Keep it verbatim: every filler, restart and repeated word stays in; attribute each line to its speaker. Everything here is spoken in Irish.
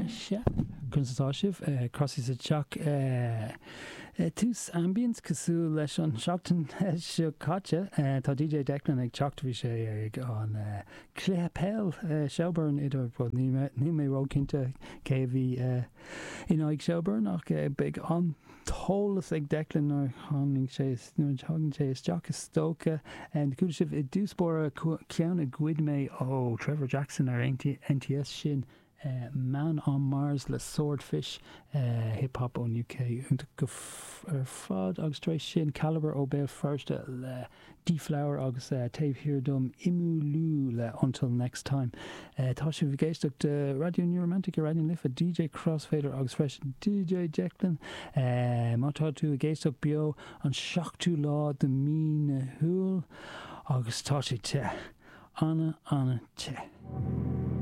Speaker 1: Sea, conas atá sibh? Crossy sa teach. Tús ambience cosúil leis an seachtain seo caite. Tá D J Declan ag teacht. Bhí sé ag an cluiche peil Shelbourne idir, níl mé róchinnte cé a bhí in aghaidh Shelbourne, ach beidh an t-eolas ag Declan nuair tháinig sé nuair thagann sé isteach, is dócha. Chuala sibh i dtús báire ceann a ghoid mé ó Trevor Jackson ar N T S, sin Man on Mars le Swordfish, hip hop ón U K, iontach go ar fad, agus tar éis sin Calibre ó Béal Feirste le Deflower agus taobh thiar dom Imulú le Until Next Time. Tá sibh ag éisteacht Raidió New Romantic ar Raidió na Life, D J Crossfader agus freisin D J Declan. Má tá tú ag éisteacht beo an seachtú lá de mí na hIúil agus tá sé te. Ana ana te.